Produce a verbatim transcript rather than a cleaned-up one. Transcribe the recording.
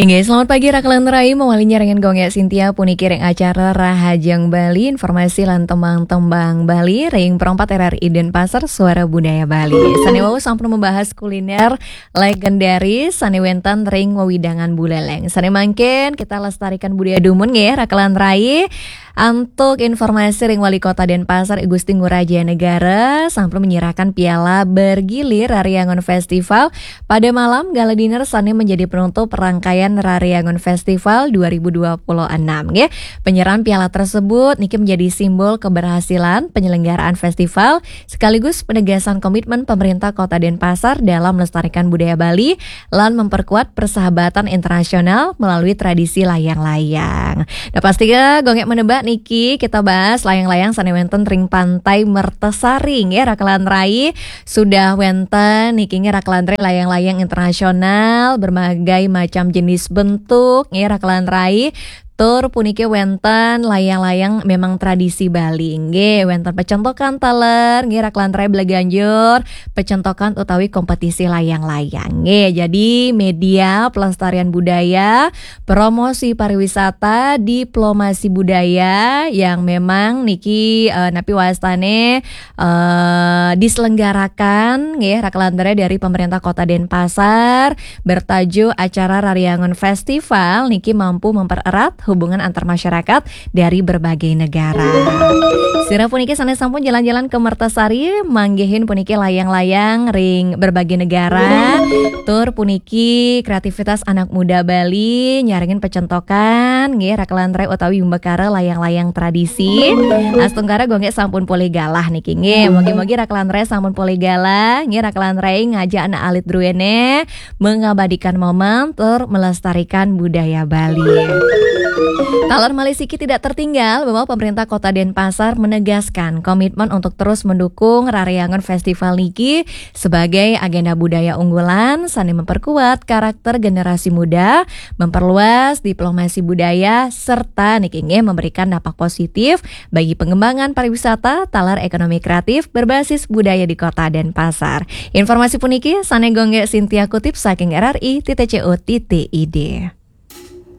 Nggih, selamat pagi Raka lan Rai, mawali nyarengin Gung Gek Sintia puniki ring acara Rahajeng Bali, informasi lan tembang-tembang Bali ring Pro empat R R I Denpasar, Suara Budaya Bali. Sane wau sampun membahas kuliner legendaris sane wenten ring wewidangan Buleleng. Sane mangkin kita lestarikan budaya dumun nggih, Raka lan Rai. Antuk informasi ring Wali Kota Denpasar, I Gusti Ngurah Jaya Negara, sampun menyerahkan piala bergilir Rariangun Festival pada malam gala dinner sane menjadi penutup rangkaian Rariangun Festival dua ribu dua puluh enam, nggih. Penyerahan piala tersebut niki menjadi simbol keberhasilan penyelenggaraan festival sekaligus penegasan komitmen pemerintah Kota Denpasar dalam melestarikan budaya Bali lan memperkuat persahabatan internasional melalui tradisi layang-layang. Nah, pastinya Gung Gek menebak niki kita bahas layang-layang sane wenten ring Pantai Mertasari nggih, Raka lan Rai. Sudah wenten niki nggih, Raka lan Rai, layang-layang internasional berbagai macam jenis bentuk nggih, Raka lan Rai. Tur puniki wenten layang-layang memang tradisi Bali nggih, wenten pecentokan taler nggih, Raka lan Rai, Belaganjur, pecentokan utawi kompetisi layang-layang nggih. Jadi media pelestarian budaya, promosi pariwisata, diplomasi budaya yang memang niki eh, napi wastane eh, diselenggarakan nggih, Raka lan Rai, dari pemerintah Kota Denpasar bertajuk acara Rariangun Festival niki mampu mempererat hubungan antar masyarakat dari berbagai negara. Sira puniki sane sampun jalan-jalan ke Mertasari, manggihin puniki layang-layang ring berbagai negara. Tur puniki kreativitas anak muda Bali nyarengin pecentokan nggih, Raka lan Rai, utawi wimbakara layang-layang tradisi. Astungkara Gung Gek sampun polih galah niki nggih. Mugi-mugi Raka lan Rai sampun polih galah nggih, Raka lan Rai ngajak anak alit druene mengabadikan momen tur melestarikan budaya Bali. Taler malih siki tidak tertinggal bahwa pemerintah Kota Denpasar menegaskan komitmen untuk terus mendukung Rariangun Festival niki sebagai agenda budaya unggulan sane memperkuat karakter generasi muda, memperluas diplomasi budaya, serta niki nggih memberikan dampak positif bagi pengembangan pariwisata taler ekonomi kreatif berbasis budaya di Kota Denpasar. Informasi puniki sane Gung Gek Sintia kutip saking R R I titik C O titik I D.